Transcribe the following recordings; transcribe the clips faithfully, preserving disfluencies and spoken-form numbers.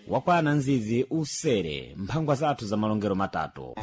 Wakwana nzizi usere mphangwa zathu za malongero matatu.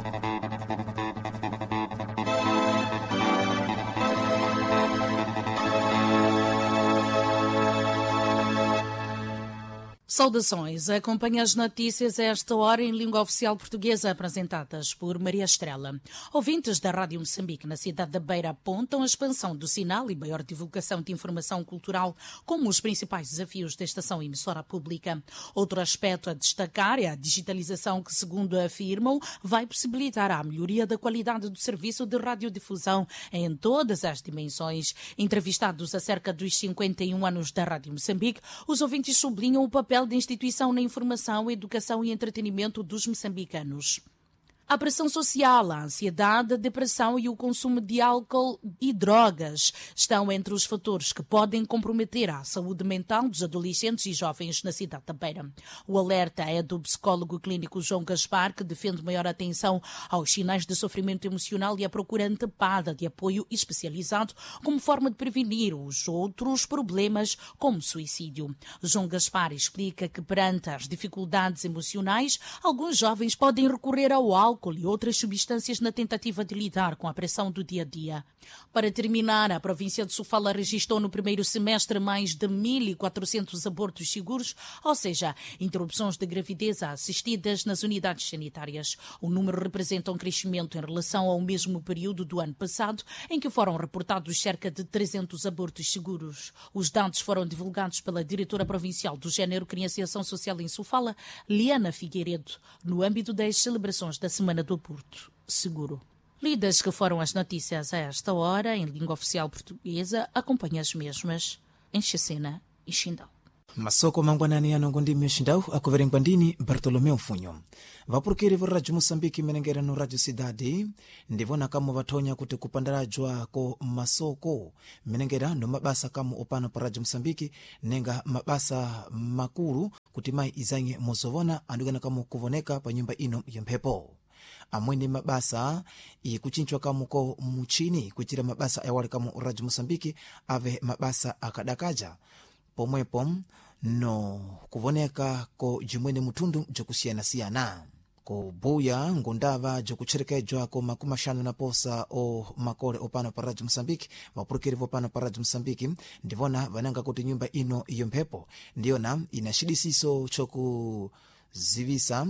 Saudações. Acompanhe as notícias a esta hora em língua oficial portuguesa, apresentadas por Maria Estrela. Ouvintes da Rádio Moçambique na cidade da Beira apontam a expansão do sinal e maior divulgação de informação cultural como os principais desafios da estação emissora pública. Outro aspecto a destacar é a digitalização que, segundo afirmam, vai possibilitar a melhoria da qualidade do serviço de radiodifusão em todas as dimensões. Entrevistados acerca dos cinquenta e um anos da Rádio Moçambique, os ouvintes sublinham o papel da instituição na informação, educação e entretenimento dos moçambicanos. A pressão social, a ansiedade, a depressão e o consumo de álcool e drogas estão entre os fatores que podem comprometer a saúde mental dos adolescentes e jovens na cidade da Beira. O alerta é do psicólogo clínico João Gaspar, que defende maior atenção aos sinais de sofrimento emocional e a procura antepada de apoio especializado como forma de prevenir os outros problemas, como suicídio. João Gaspar explica que, perante as dificuldades emocionais, alguns jovens podem recorrer ao álcool álcool e outras substâncias na tentativa de lidar com a pressão do dia a dia. Para terminar, a província de Sofala registrou no primeiro semestre mais de mil e quatrocentos abortos seguros, ou seja, interrupções de gravidez assistidas nas unidades sanitárias. O número representa um crescimento em relação ao mesmo período do ano passado, em que foram reportados cerca de trezentos abortos seguros. Os dados foram divulgados pela diretora provincial do Género, Criança e Ação Social em Sofala, Liana Figueiredo, no âmbito das celebrações da Semana do Aborto Seguro. Lidas que foram as notícias a esta hora, em língua oficial portuguesa, acompanhe as mesmas em Chessena e Chindo. Masoko mangwanani ano ngondimi xindau akuverengwa ndini Bartolomeu Mfunyo. Vapurukiri va Radio Moçambique menengera no Radio Cidade ndivona kamo vathonya kuti kupandalajwa ko masoko menengera no mabasa kamo opano pa Radio Moçambique nenga mabasa makulu kuti mayi izanye mozovona andikana kamo kuvoneka pa nyumba ino ya mphepo. Amwene mabasa ikuchinchwa kamo ko muchini kuitira mabasa ayawali kamo Radio Moçambique ave mabasa akadakaja pomwepo no kuvoneka ko jimwene mutundu jakusiyanasiyana kubuya ngundava jakutcherekejwa ko makumi axanu na posa o makole opano pa Radio Moçambique. Vapurukiri vopano pa Radio Moçambique ndivona vananga kuti nyumba ino iyo mphepo ndiyona ina xidisiso chokuzivisa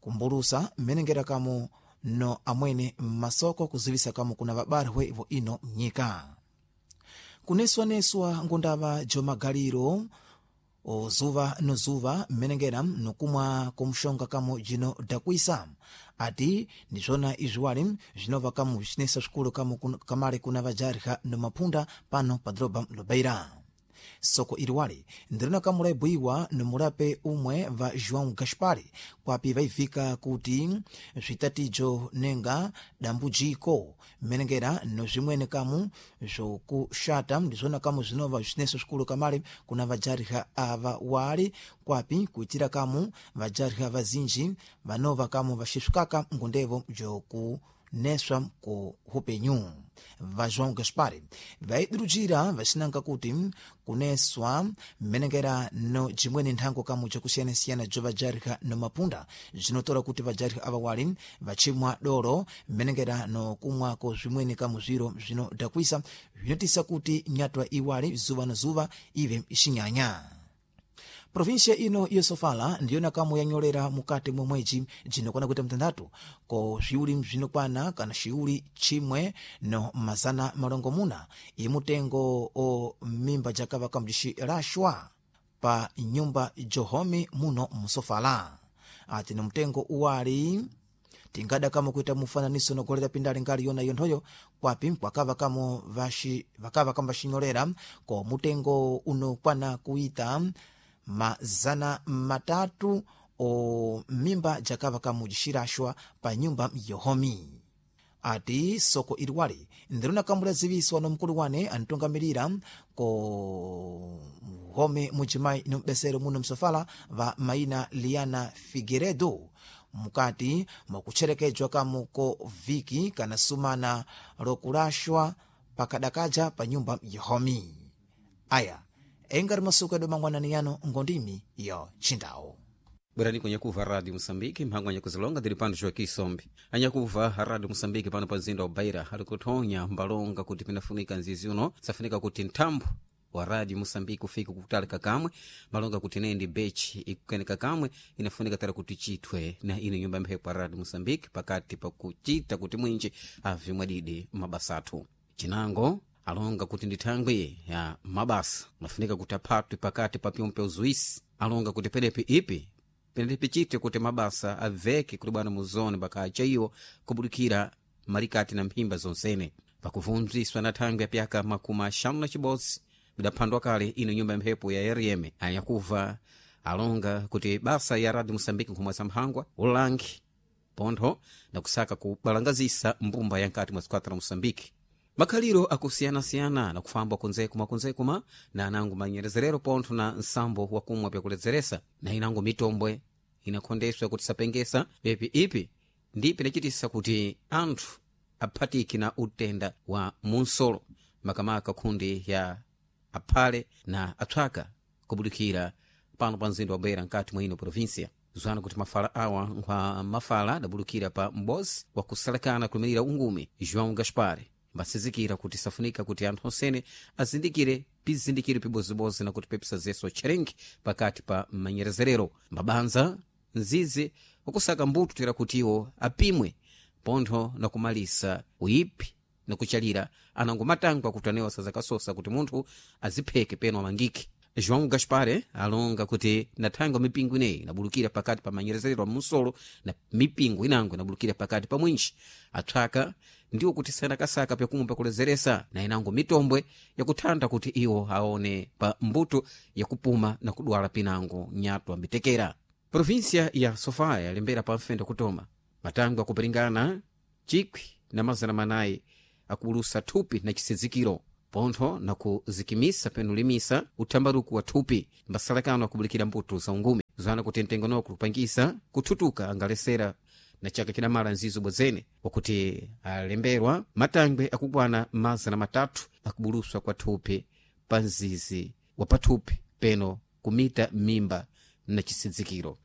kumbulusa mmenengera kamo no amwene masoko kuzivisa kamo kuna vabarwe vo ino nyika kuneswaneswa ngundava jomagaliro ozuva nozuva mmenengera nokumwa kumshonga kamo jino dakwisa. Ati ndizvona izviwali zvinova kamo zvicinesa zvikulu kamo kamale kuna vajarika nomaphunda pano pa doroba Lobeira. Soko iliwali ndirina kamo laibuiwa nomulape umwe va João Gaspar kwapi vaivika kuti zvitatijo nenga dambujiko mmenengera nozvimwene kamu zvokushata ndizvona kamu zvinova zvineso zvikulu kamale kuna vajarika ava wali kwapi kuitira kamu vajarika vazinji vanova kamu vaxisvikaka ngundevo joku neswa ku upenyu. Va João Gaspar vaidurujira vacinanga kuti kuneswa mmenengera no jimweni nthango kamu jakusiyanasiyana jo vajarika no mapunda zvinotora kuti vajarika ava wali vachimwa doro mmenengera no kumwako zvimweni kamu zviro zvinodakwisa zvinotisa kuti nyatwa iwali zuva no zuva ive xinyanya. Província ino yosofala ndiyona kamwe yanyolera mukati mwa mwedzi jinokwana kuita mtandatu ko zviuli zvinokwana kana xiuli chimwe no mazana malongomuna imutengo o mimba jakava kamjixilashwa pa nyumba johome muno musofala. Ati ni mtengo uwali tingada kamo kuita mufananiso nogolera pindali ngali yona yonthoyo kwapi kwakava kamo vaxi vakava kamo vaxinyolera ko mutengo unokwana kuita mazana matatu o mimba jakava kamujixiraxwa pa nyumba yohomi. Ati soko iliwali ndirina kamulaziviswa no mkulu wane antongamirira ko home mujimai nombesero muno msofala va maina Liana Figueredo mukati mwakucherekejwa kamu ko viki kana sumana lokulashwa pakadakaja pa nyumba yohomi. Aya engari masuku edu mangwanani yano ngondimi yo chindawo. Bwerani kunyakuva Rádio Moçambique, mphangwa anyakuzilonga tili pano Joaquim Sombe. Anyakuva Rádio Moçambique pano pa mzinda wa Beira ali kuthonya mbalonga kuti pinafunika nzizi uno, safunika kuti nthambo wa Rádio Moçambique ufike kutali kakamwe, malonga kuti nendi bechi ikukeneka kamwe, inafunika tara kuti chithwe na ino nyumba mphepo ya Rádio Moçambique pakati pakuchita kuti mwinji ave mwadidi mabasa athu. Chinango alonga kuti ndi thangwi ya mabasa mafunika kuti aphatwe pakati pa pyompe uzuisi, alonga kuti penepi ipi penepi chite kuti mabasa aveke kuti bwana muzone bakacha iwo kubudikira malikati na mphimba zonsene pakuvunziswa na thangwi ya pyaka makumi axanu na chibodzi bidaphandwa kale ino nyumba ya mphepo ya R M anyakuva alonga kuti basa ya Radio Moçambique nkhumwe za mphangwa ulangi pontho na kusaka kubalangazisa mbumba ya nkati mwa zikwata la Moçambique. Makhaliro akusiyanasiyana na kufamba kunzekuma kunzekuma na anango manyerezerero pontho na nsambo wakumwa pyakuledzeresa na inango mitombwe inakhondeswa kuti sapengesa pepi ipi ndi pinachitisa kuti anthu aphatiki na utenda wa munsolo makamaka khundi ya aphale na atswaka kubudikira pano pa mzinda wa Beira nkati mwa ino província. Zwana kuti mafala awa nkhwa mafala adabulukira pa m'bozi wakusalekana kulimirira ungumi João Gaspar mbasizikira kuti safunika kuti anthu onsene azindikire pizindikiro pibozibozi na kuti pepisazeso tcherengi pakati pa manyerezerero mabanza nzizi wakusaka mbuto tera kuti iwo apimwe pontho na kumalisa uyipi na kuchalira anango matangwa kuti anewo sazakasosa kuti munthu azipheke peno amangike. João Gaspar alonga kuti nathangwa mipingo ineyi inabulukira pakati pa manyerezerero a munsolo na mipingo inango inabulukira pakati pa mwinji atswaka ndiwo kuti sanakasaka pyakumwe pakulezeresa na inango mitombwe yakuthanda kuti iwo aone pa mbuto yakupuma na kudwala pinango nyatwa mbitekera. Província ya Sofala yalembera pa mfendo kutoma matangwe akupiringana chikwi na mazana manayi akubulusa thupi na chisizikiro pontho na kuzikimisa penulimisa uthambaruku wa thupi mbasalakano akubulikira mbuto za ungumi zwana kuti mtengo noko kupangisa kuthutuka angalesera na chaka chidamala nzizo bwezene wakuti alemberwa matangwe akukwana mazana matatu akubuluswa kwa thupi pa mzizi wa pathupi peno kumita mimba na chisidzikiro.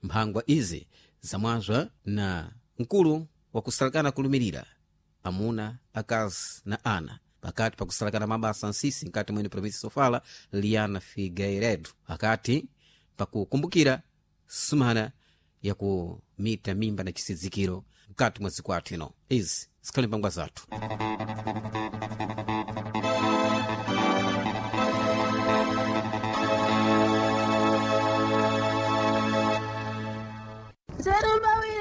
Mphangwa izi zamwazwa na mkulu wakusalakana kulumirira amuna akazi na ana pakati pakusalakana mabasa nsisi nkati mwene província Sofala Liana Figueiredo akati pakukumbukira sumana yakumita mimba na chisidzikiro mkati mwa zikwathu ino. Izi zikhale mphangwa zathu. Zero